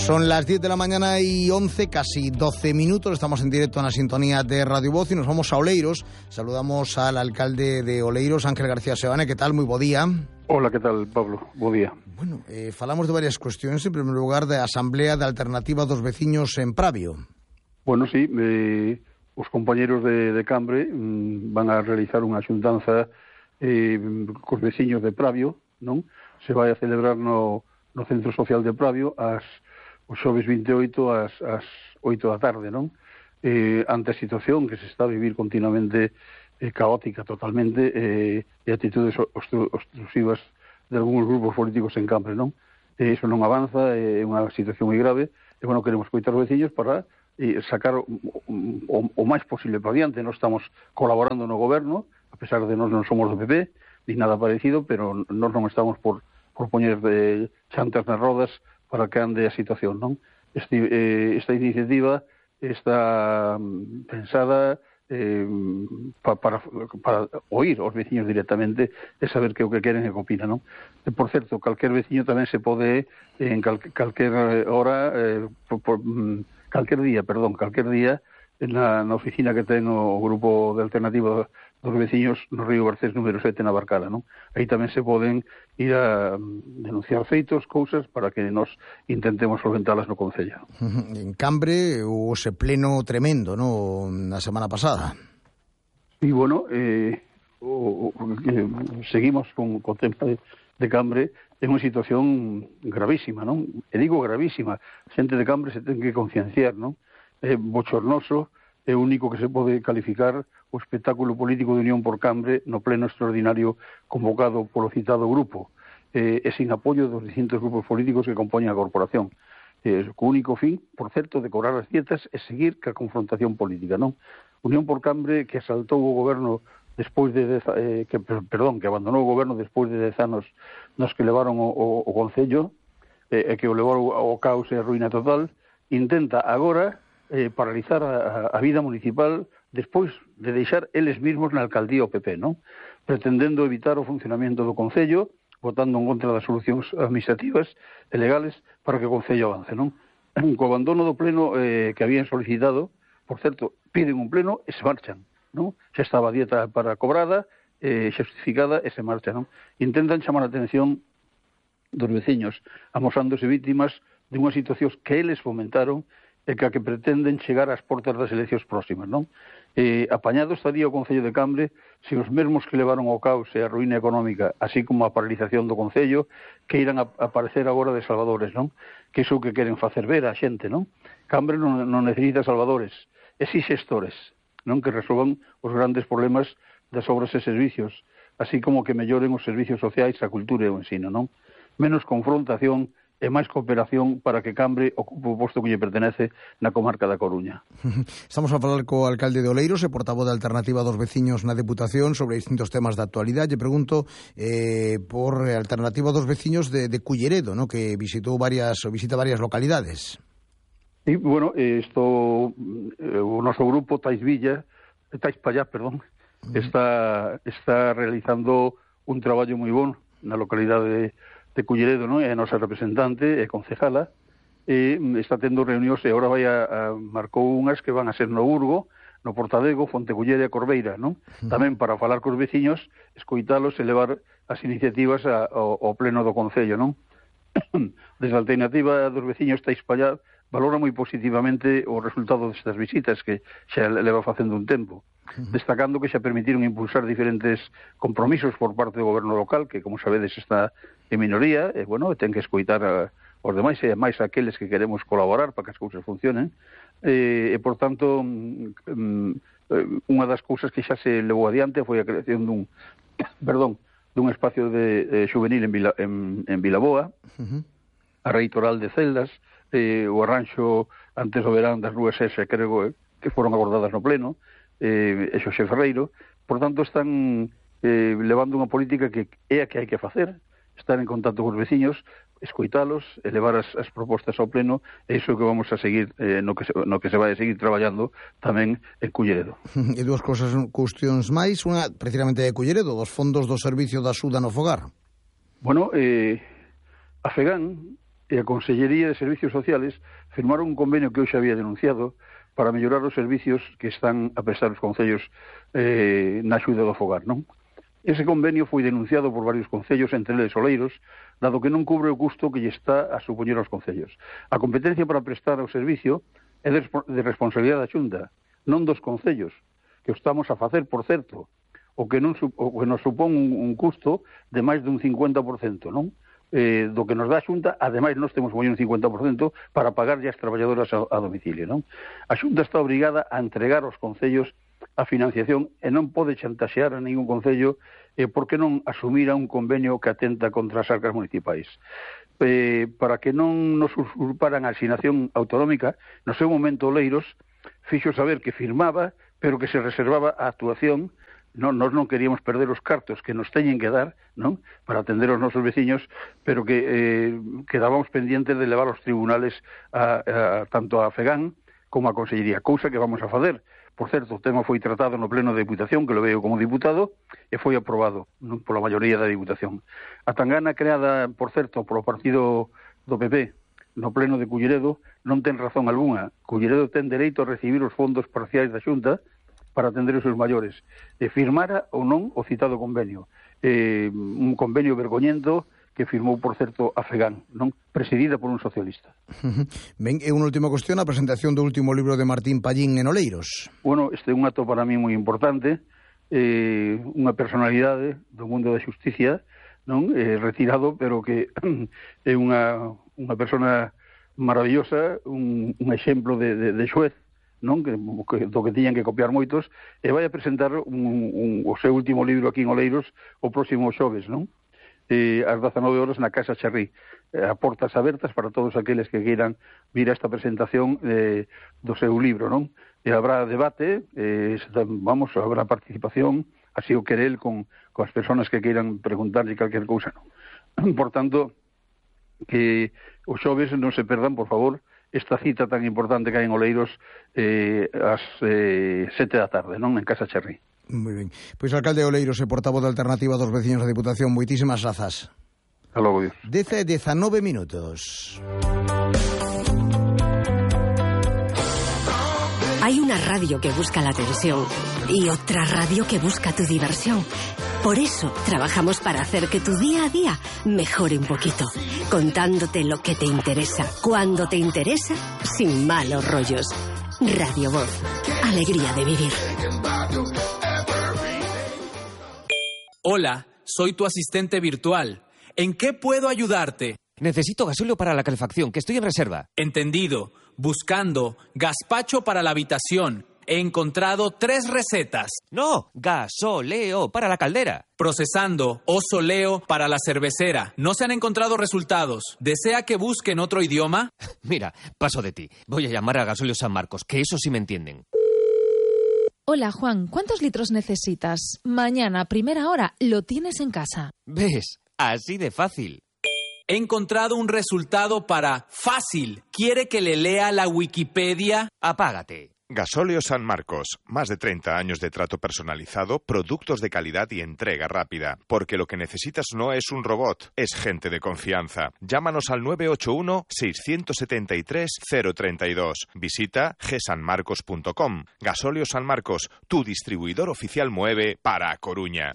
Son las 10 de la mañana y 11, casi 12 minutos. Estamos en directo en la sintonía de Radio Voz y nos vamos a Oleiros. Saludamos al alcalde de Oleiros, Ángel García Seoane. ¿Qué tal? Moi bo día. Hola, ¿qué tal, Pablo? Bo día. Bueno, falamos de varias cuestiones. En primer lugar, da Asamblea de Alternativa dos Veciños en Pravio. Bueno, sí, os compañeros de Cambre van a realizar unha xuntanza cos veciños de Pravio, non? Se vai a celebrar no Centro Social de Pravio o xoves 28 ás 8 da tarde, non? Ante a situación que se está a vivir continuamente caótica totalmente e actitudes obstrusivas de algúns grupos políticos en Cambre, non? Iso non avanza, é unha situación moi grave e, bueno, queremos coitar os veciños para sacar o máis posible para diante. Nós estamos colaborando no goberno, a pesar de nós non somos do PP, ni nada parecido, pero nós non estamos por poñer chantas nas rodas para que ande a situación, non? Esta iniciativa está pensada para oír aos veciños directamente e saber que o que queren e que opinan, non? Por certo, calquer veciño tamén se pode en calquer hora calquer día na oficina que ten o grupo de alternativa dos veciños no Río Garcés número 7 na Barcala, non? Aí tamén se poden ir a denunciar feitos, cousas, para que nos intentemos solventalas no Concello. En Cambre houve ese pleno tremendo, non? Na semana pasada. E, bueno, seguimos con o tema de Cambre en unha situación gravísima, non? E digo gravísima, a xente de Cambre se ten que concienciar, non? É bochornoso, é o único que se pode calificar o espectáculo político de Unión por Cambre no pleno extraordinario convocado polo citado grupo, e sin apoio dos distintos grupos políticos que compoñen a corporación. Co único fin, por certo, de cobrar as dietas e seguir ca confrontación política, non? Unión por Cambre, que asaltou o goberno despois de que abandonou o goberno despois de 10 anos nos que levaron o Concello e que o levou ao caos e a ruína total, intenta agora paralizar a vida municipal despois de deixar eles mesmos na alcaldía o PP, non? Pretendendo evitar o funcionamento do Concello, votando en contra das solucións administrativas e legales para que o Concello avance, non? Co abandono do pleno que habían solicitado, por certo, piden un pleno e se marchan, non? Xa estaba a dieta para cobrada, xustificada e se marcha, non? Intentan chamar a atención dos veciños, amosándose vítimas de unha situación que eles fomentaron e que pretenden chegar ás portas das eleccións próximas, non? Apañado estaría o Concello de Cambre se os mesmos que levaron ao caos e a ruína económica, así como a paralización do Concello, que irán a aparecer agora de salvadores, non? Que iso que queren facer ver a xente, non? Cambre non necesita salvadores, e si xestores, non? Que resolvan os grandes problemas das obras e servicios, así como que melloren os servicios sociais, a cultura e o ensino, non? Menos confrontación e máis cooperación para que Cambre ocupe o posto que lle pertenece na comarca da Coruña. Estamos a falar co alcalde de Oleiros e portavoz da Alternativa dos Veciños na Deputación sobre distintos temas de actualidade. Lle pregunto por Alternativa dos Veciños de Culleredo, ¿no? Que visita varias localidades. Sí, bueno, o noso grupo Tais Pallá, está realizando un traballo moi bon na localidade de Culleredo, non? É a nosa representante e concejala, e está tendo reunións e agora marcou unhas que van a ser no Burgo, no Portadego, Fontecullera e Corbeira, non? Tamén para falar cos veciños, escoitalos e levar as iniciativas ao pleno do Concello, non? Desde a Alternativa dos Veciños Tais Pallá valora moi positivamente o resultado destas visitas que xa leva facendo un tempo, destacando que xa permitiron impulsar diferentes compromisos por parte do goberno local, que, como sabedes, está en minoría, e, bueno, ten que escoitar os demais e máis aqueles que queremos colaborar para que as cousas funcionen, e, por tanto, unha das cousas que xa se levou adiante foi a creación dun espacio de juvenil en Vilaboa, a reitoral de celdas, o arranxo antes do verán das rúas ese, creo que foron abordadas no pleno, e Xosé Ferreiro. Por tanto, están levando unha política que é a que hai que facer, estar en contacto cos veciños, escoitalos, elevar as propostas ao pleno, e iso que vamos a seguir, no que se vai a seguir traballando tamén en Culleredo. E dúas cuestións máis, unha precisamente de Culleredo, dos fondos do Servicio de Axuda no Fogar. Bueno, a FEGAN e a Consellería de Servicios Sociales firmaron un convenio que hoxe había denunciado para mellorar os servicios que están a prestar os concellos na axuda do fogar, non? Ese convenio foi denunciado por varios concellos, entre eles Oleiros, dado que non cubre o custo que lle está a supoñer aos concellos. A competencia para prestar o servicio é de responsabilidade da Xunta, non dos concellos, que o estamos a facer, por certo, o que nos supón un custo de máis dun 50%, non? Do que nos dá a Xunta, ademais nós temos moi un 50% para pagarlle as traballadoras a domicilio, non? A Xunta está obrigada a entregar aos concellos a financiación e non pode chantaxear a ningún concello porque non asumira un convenio que atenta contra as arcas municipais. Para que non nos usurparan a asignación autonómica, no seu momento Oleiros fixo saber que firmaba, pero que se reservaba a actuación. Nós non queríamos perder os cartos que nos teñen que dar, non, para atender aos nosos veciños, pero que quedábamos pendientes de levar aos tribunales tanto a FEGAN como a Consellería, cousa que vamos a facer. Por certo, o tema foi tratado no Pleno de Diputación, que lo veo como diputado, e foi aprobado, non, pola maioría da Diputación. A tangana creada, por certo, polo partido do PP no Pleno de Culleredo non ten razón algunha. Culleredo ten dereito a recibir os fondos parciais da Xunta para atender os seus maiores. Firmara ou non o citado convenio. Un convenio vergoñento que firmou, por certo, a FEGAN, non, presidida por un socialista. Ben, e unha última cuestión, a presentación do último libro de Martín Pallín en Oleiros. Bueno, este é un acto para mí moi importante, unha personalidade do mundo da xusticia, non, retirado, pero que é unha persona maravillosa, un exemplo de xuez, non, do que tiñan que copiar moitos, e vai a presentar o seu último libro aquí en Oleiros o próximo xoves, non? Ás 19 horas na Casa Charrí. A portas abertas para todos aqueles que queiran vir a esta presentación do seu libro, non? E habrá debate, habrá participación, así o querel con as persoas que queiran preguntarlle calquer cousa, non? Por tanto, que os xoves non se perdan, por favor, esta cita tan importante que hai en Oleiros ás 7 da tarde, non? En Casa Charrí. Moi ben. Pois alcalde de Oleiros e portavoz da Alternativa dos Veciños da Diputación, moitísimas grazas. Hasta logo, Dios. 19 minutos. Hay una radio que busca la atención y otra radio que busca tu diversión. Por eso trabajamos para hacer que tu día a día mejore un poquito, contándote lo que te interesa, cuando te interesa, sin malos rollos. Radio Voz, alegría de vivir. Hola, soy tu asistente virtual. ¿En qué puedo ayudarte? Necesito gasóleo para la calefacción, que estoy en reserva. Entendido. Buscando gazpacho para la habitación. He encontrado 3 recetas. No, gasóleo para la caldera. Procesando osoleo para la cervecera. No se han encontrado resultados. ¿Desea que busque en otro idioma? Mira, paso de ti. Voy a llamar a Gasóleo San Marcos, que eso sí me entienden. Hola, Juan. ¿Cuántos litros necesitas? Mañana, a primera hora, lo tienes en casa. ¿Ves? Así de fácil. He encontrado un resultado para fácil. ¿Quiere que le lea la Wikipedia? Apágate. Gasóleo San Marcos, más de 30 años de trato personalizado, productos de calidad y entrega rápida. Porque lo que necesitas no es un robot, es gente de confianza. Llámanos al 981-673-032. Visita gsanmarcos.com. Gasóleo San Marcos, tu distribuidor oficial Moeve para Coruña.